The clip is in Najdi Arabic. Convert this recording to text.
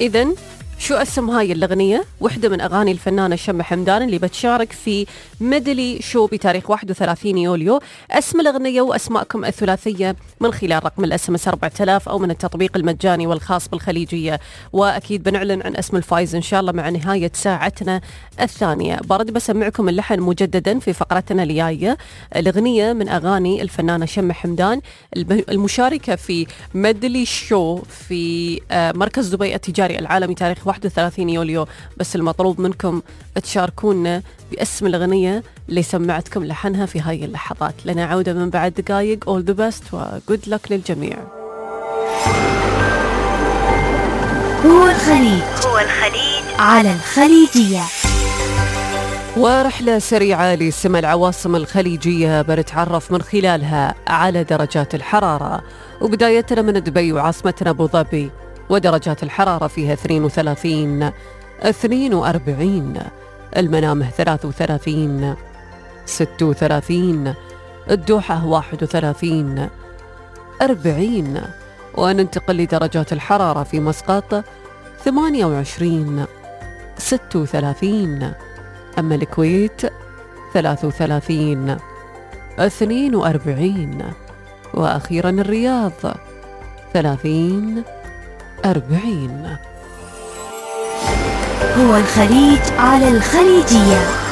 إذن شو اسم هاي الأغنية؟ وحدة من أغاني الفنانة شمة حمدان اللي بتشارك في ميدلي شو بتاريخ 31 يوليو. اسم الأغنية وأسماءكم الثلاثية من خلال رقم الSMS 4000 أو من التطبيق المجاني والخاص بالخليجية. وأكيد بنعلن عن اسم الفائز إن شاء الله مع نهاية ساعتنا الثانية. برد بسمعكم اللحن مجددا في فقرتنا الجاية. الأغنية من أغاني الفنانة شمة حمدان المشاركة في ميدلي شو في مركز دبي التجاري العالمي تاريخ 31 يوليو. بس المطلوب منكم تشاركونا باسم الأغنية اللي سمعتكم لحنها في هاي اللحظات. لنا عودة من بعد دقايق. all the best و good luck للجميع. هو الخليج على الخليجية. ورحلة سريعة لسمع العواصم الخليجية بنتعرف من خلالها على درجات الحرارة. وبدايتنا من دبي وعاصمتنا أبو ظبي، ودرجات الحرارة فيها 32 42، المنامه 33 36، الدوحة 31 40. وننتقل لدرجات الحرارة في مسقط 28 36، أما الكويت 33 42، وأخيرا الرياض 30 40. هو الخليج على الخليجية.